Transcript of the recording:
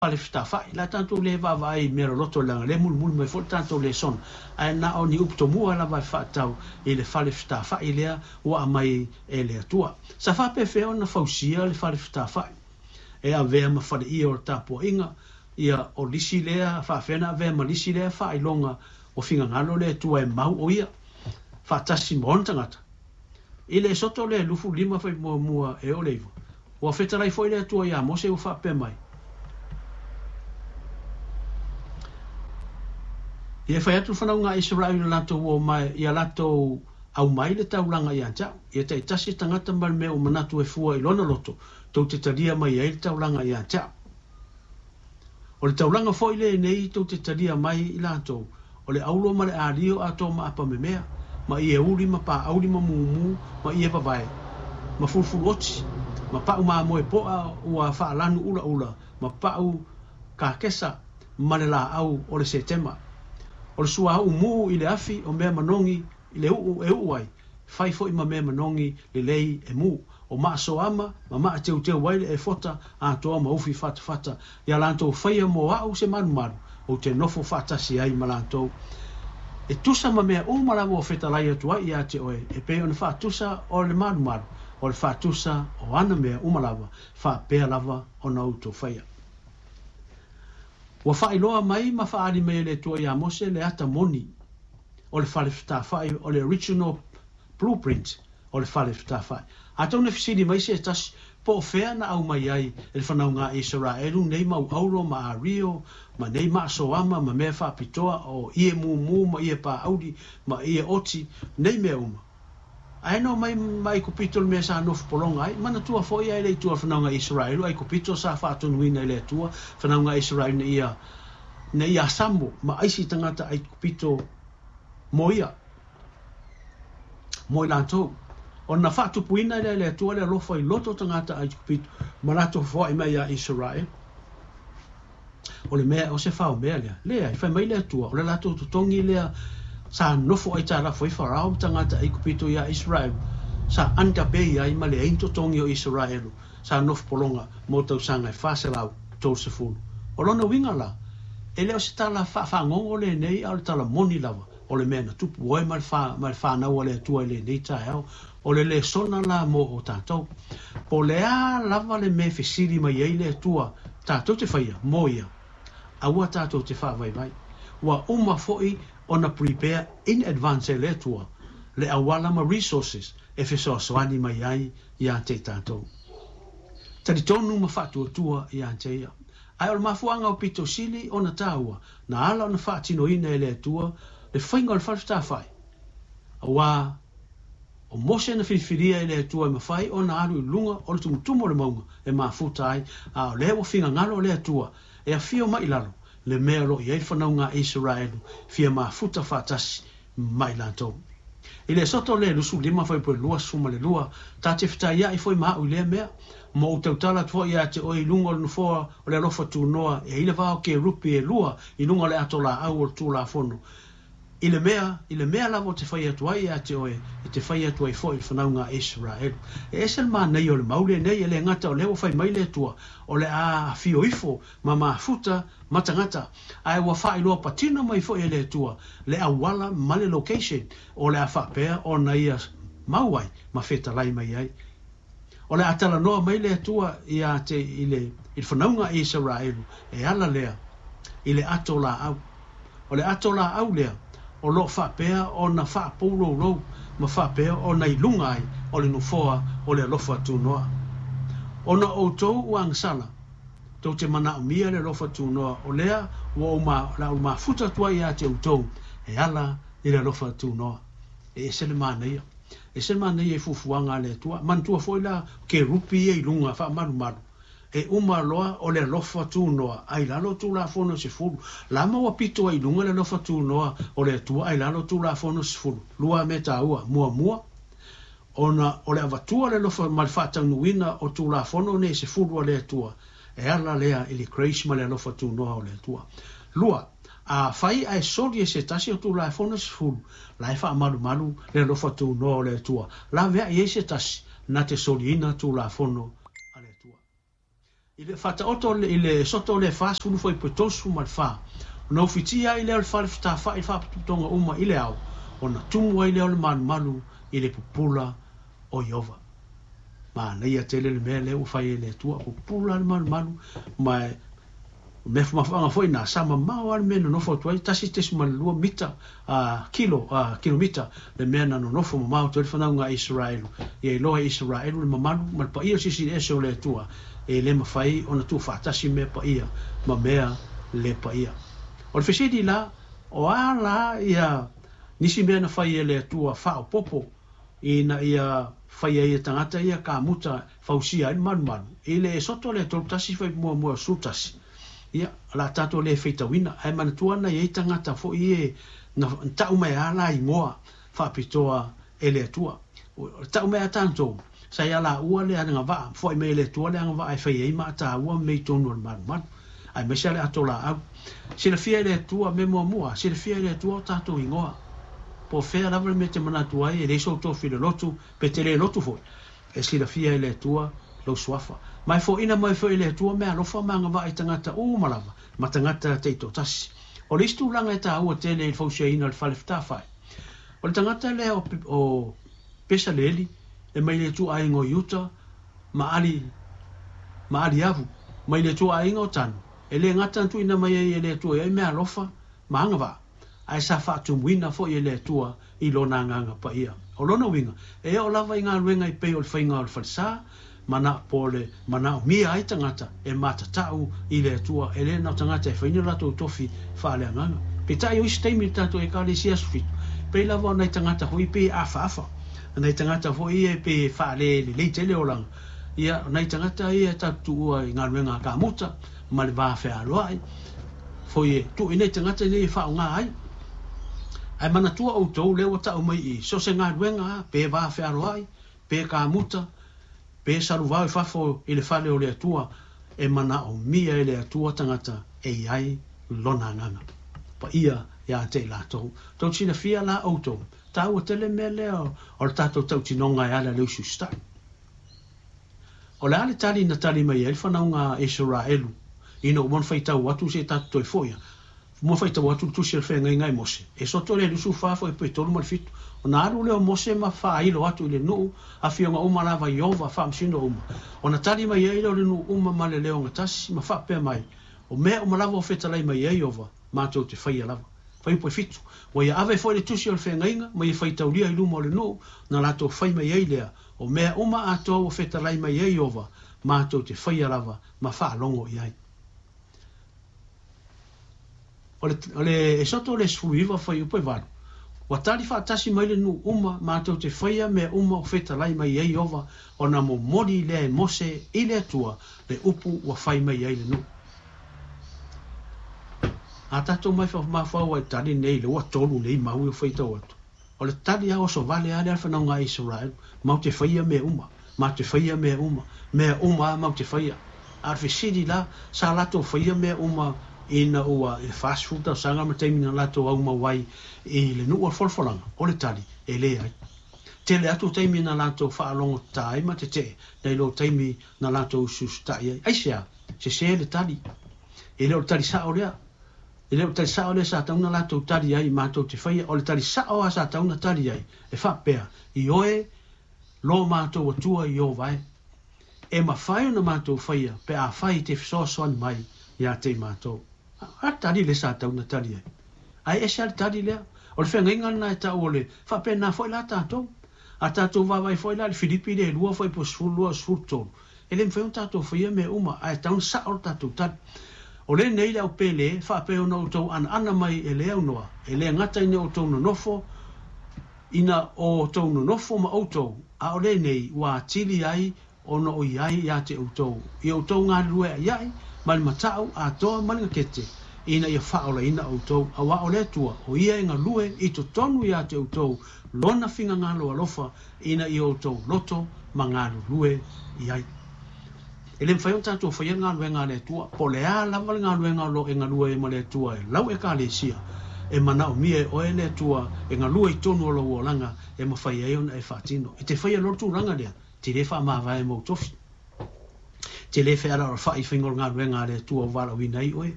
Fale fetafai. La tatou le vaavaai i mea loloto leaga lea e mulimuli mai foi le tatou lesona, ae na o ni upu tomua lava e faatatau i le fale fetafai lea ua aumai e le Atua. Sa faapefea ona fausia le fale fetafai? E avea ma faleia o le tapuaiga, ia o lisi lea, faapefea ona avea ma lisi lea faailoga ua finagalo le Atua e mau o ia faatasi ma ona tagata? I le Esoto le 25 fai muamua e oo le 9, ua fetalai foi le Atua iā Mose ua faapea mai, Ia e fai atu le fanauga a Isaraelu i le latou o mai, ia latou aumai le taulaga ia te au, ia taitasi le tagata ma le mea ua manatu e fua i lona loto, tou te talia mai ai le taulaga ia te au. O le taulaga foi lenei tou te talia mai i latou, o le auro ma le alio atoa ma apamemea, ma ie uli ma paauli ma mumu ma ie vavae, ma fulufuluoti, ma pau mamoe poa ua faalanu ulaula, ma pau kakesa ma le laau o le setema. O le suauu mu i le afi o mea manogi i le uu e uu ai, fai foi ma mea manogi lelei e mu. O maasoama ma maateuteu ai le efota atoa ma ufi fatafata ia latou faia mo au se malumalu, ou te nofo faatasi ai ma latou. E tusa ma mea uma lava ua fetalai atu ai ia te oe, e pei ona faatusa o le malumalu, o le faatusa o ana mea uma lava, faapea lava ona outou faia. Ua faailoa mai ma faaali mai e le Atua iā Mose le ata moni o le fale fetafai o le original blueprint o le fale fetafai. Atonu e fesili mai se tasi, po o fea na aumai ai e le fanauga a Isaraelu nei mau auro ma ario ma nei maasoama ma mea faapitoa o ie mumu ma ie paauli ma ie oti, nei mea uma. Ae na omai ma Aikupito le mea sa nofo pologa ai. Manatua foi ae le i tua le fanauga a Isaraelu, Aikupito sa faatonuina e le Atua fanauga a Isaraelu ina ia ina ia asamo ma aisi tagata Aikupito mo ia. Mo i latou. Ona faatupuina lea e le Atua le alofa i loto o tagata Aikupito ma latou foai mai iā Isaraelu. O le mea, o se fao mea lea. Leai, fai mai le Atua, o le latou totogi lea sa nofo aitalafu ai Farao ma tagata Aikupito iā Isaraelu, sa underpay ai ma leai ni totogi o Isaraelu sa nofo pologa mo tausaga e 430. O lona uiga la, e le o se tala faafagogo lenei a o le tala moni lava o le mea na tupu oe ma le ma le fanau a le Atua i lenei taeao, o le lesona la mo o tatou. Po o le a lava le mea e fesili mai ai le Atua tatou te faia mo ia, aua tatou te faavaivai. Ua uma foi ona prepare in advance e le Atua le auala ma resources e fesoasoani mai ai ia te tatou. Talitonu ma faatuatua ia te ia. Ae o le mafuaaga o pito sili ona taua, na ala ona faatinoina e le Atua le faiga o le fale fetafai, aua o Mose na filifilia e le Atua e mafai ona alu i luga o le tumutumu o le mauga e mafuta ai, a o lea ua finagalo le Atua e afio mai i lalo le mea o lo o i ai le fanauga a Isaraelu fia mafuta faatasi ma i latou. I le Esoto le 25 fuaiupu e 22, ta te fetaiaʻi foi ma aʻu i lea mea, ma ou tautala atu foi ia te oe i luga o le nofoa o le alofa tunoa e ai le va o kerupi e lua i luga o le ato laau o le Tulafono, i le mea, i le mea lava ou te fai atu ai ia te oe, e te fai atu ai foi i le fanauga a Isaraelu. E ese le manaia o le mau lenei, e le gata o lea ua fai mai le Atua, o le a afio ifo ma mafuta ma tagata, ae ua faailoa patino mai foi e le Atua le auala ma le location o le a faapea ona ia mau ai ma fetalai mai ai. O le a talanoa mai le Atua ia te i le i le fanauga a Isaraelu e ala lea i le ato laau. O le ato laau lea o lo o faapea ona faapouloulou ma faapea ona i luga ai o le nofoa o le alofa tunoa. Ona o outou ua agasala, tou te manaomia le alofa tunoa o lea ua ou ma, la ou mafuta atu ai ia te outou e ala i le alofa tunoa. E ese le manaia. Ese le manaia i fuafuaga a le Atua. Manatua foi la kerupi ia i luga faamalumalu, e uma loa o le alofa tunoa a i lalo o Tulafono e 10. La ma ua pito ai i luga le alofa tunoa o le Atua a i lalo o Tulafono e 10. Lua mea taua. Muamua, ona o le avatua le alofa ma le faataunuuina o Tulafono nei e 10 a le Atua, e ala lea i le grace ma le alofa tunoa o le Atua. Lua, afai ae soli e se tasi o Tulafono e 10, la e faamalumalu le alofa tunoa o le Atua, laveai ai se tasi na te soliina Tulafono a le Atua. I le faataoto i le Esoto le 40 fuaiupu e 34, ona ufitia ai lea o le fale fetafa'i i faapotopotoga uma i le ao, ona tumu ai lea o le malumalu i le pupula o Ieova. Manaia tele le mea lea ua fai e le Atua, pupula le malumalu, ma e O mea mafuaaga foi na, sa mamao lava le mea e nonofo atu ai, 1.2 mita, kilo, kilomita le mea na nonofo mamao atu ai le fanauga a Isaraelu. Ia iloa e Isaraelu le mamalu ma le paia o le Silisili Ese o le Atua, e le mafai ona tuufaatasi mea paia ma mea le paia. O le fesili la, o a la ia nisi mea na fai e le Atua faaopoopo ina ia fai ai e tagata ia kamuta fausia ai le malumalu i le Esoto lea 31 fuaiupu muamua 11. Ia, o le a tatou le faitauina, ae manatua na i ai tagata foi e na tau mai a la igoa faapitoa e le Atua. Tau mai a tatou, sa ia laua le agavaa, foai mai e le Atua le agavaa e fai ai maataua ma mea i totonu o le malumalu, aemaise lava le ato laau. Silafia e le Atua, mea muamua, silafia e le Atua o tatou igoa. Po o fea lava le mea e te manatu ai, e leai sou tofi i le lotu, pe te le lotu foi, e silafia e le Atua lou suafa. Ma e foaina mai foi e le Atua meaalofa ma agavaa i tagata uma lava, ma tagata taitoatasi. O le isi tulaga e taua tele i le fausiaina o le fale fetafa'i, o le tagata lea o Pesaleli, e mai le ituaiga o Iuta, ma Ali, ma Aliavu, mai le ituaiga o Tanu, e le gata na tuuina mai ai e le Atua i ai meaalofa ma agavaa, ae sa faatumuina foi e le Atua i Lona Agaga Paia. O lona uiga, e oo lava i galuega e pei o le faiga o le falesa, mana, po o le manaomia ai tagata e matatau i le Atua, e le na o tagata e fai ni o latou tofi faaleagaga. Peitai o isi taimi i le tatou Ekalesia Aso Fitu, pei lava o nai tagata foi pei e afaafa, nai tagata foi ia e pei e faalelelei tele olaga, ia, o nai tagata ia e tatou tuua i galuega a kamuta ma le va fealoai, foi e tuu i nai tagata nei e faaaoga ai. Ae manatua outou lea ua tau mai i so o se galuega a, pe va fealoai, pe kamuta, pe saluvao i fafo i le fale o le Atua, e manaomia e le Atua tagata e i ai Lona Agaga Paia ia te i latou. Tou silafia la outou, taua tele mea lea o le tatou tautinoga e ala i le usiusitai. O le a le tali na tali mai ai le fanauga a Isaraelu ina ua faitau atu se i tatou toe foi a? Mua faitau atu le tusi a le feagaiga e Mose, e soto le 24 fuaiupu e 37, ona alu lea o Mose ma faailo atu i le nuu, afioga uma lava Ieova, faamasino uma. Ona tali mai ai lea o le nuu uma ma le leo gatasi, ma faapea mai, O mea uma lava ua fetalai mai ai Ieova, matou te faia lava. Fuaiupu e 7, Ua ia ave foi le tusi o le feagaiga, ma ia faitaulia i luma o le nuu, na latou fai mai ai lea, O mea uma atoa ua fetalai mai ai Ieova, matou te faia lava ma faalogo i ai. O le, o le Esoto le 19 fuaiupu e 8, Ua tali faatasi mai le nuu uma, matou te faia mea uma ua fetalai mai ai Ieova, ona momoli lea e Mose i le Atua le upu ua fai mai ai le nuu. A tatou mafaufau ai tali nei le ua tolu nei mau e faitau atu. O le tali a oso vale a lea le fanauga a Israel, mau te faia mea uma, ma te faia mea uma, mea uma a mau te faia. A o le fesili la, sa latou faia mea uma ina ua i le 40 tausaga ma taimi na latou aumau ai i le nuu o le folafolaga? O le tali, e leai. Tele atu taimi na latou faalogotata ai ma tetee nai lo taimi na latou usiusitai ai. Aisea? Sese le tali. E le o le tali sao lea. E le o le tali sao lea sa tatau ona latou tali ai, matou te faia. O le tali sao lava sa tatau ona tali ai, e faapea, Ioe, lo matou Atua Ieova e. E mafai ona matou faia pe afai e te fesoasoani mai ia te i matou. A tali lea sa tatau ona tali ai. Ae ese lava le tali lea. O le feagaiga lena e tau o le faapena foi la tatou. A tatou vaavaai foi la i le Filipi le 2 fuaiupu 12 13, E le mafai ona tatou faia mea uma, ae tatau ona sao le tatou tali. O lenei le au pele, faapea ona outou anaana mai e le aunoa, e le gata ina outou nonofo, ina o outou nonofo ma outou, a o lenei ua atili ai ona o i ai ia te outou, i outou galulue aʻiaʻi, ma le matau atoa ma le gakete, ina ia faaolaina outou, auā o le Atua, o ia e galue i totonu ia te outou lona finagalo alofa, ina ia outou loto ma galulue i ai. E le mafai ona tatou faia le galuega a le Atua, po o le a lava le galuega o lo o e galue ai ma le Atua e lau Ekalesia, e manaomia e oe le Atua e galue i totonu o lou olaga e mafai ai ona e faatino. E te faia loa le tulaga lea, te le faamavae ma ou tofi. Te le fealaalafa'i i faiga o le galuega a le Atua ua valaauina ai oe.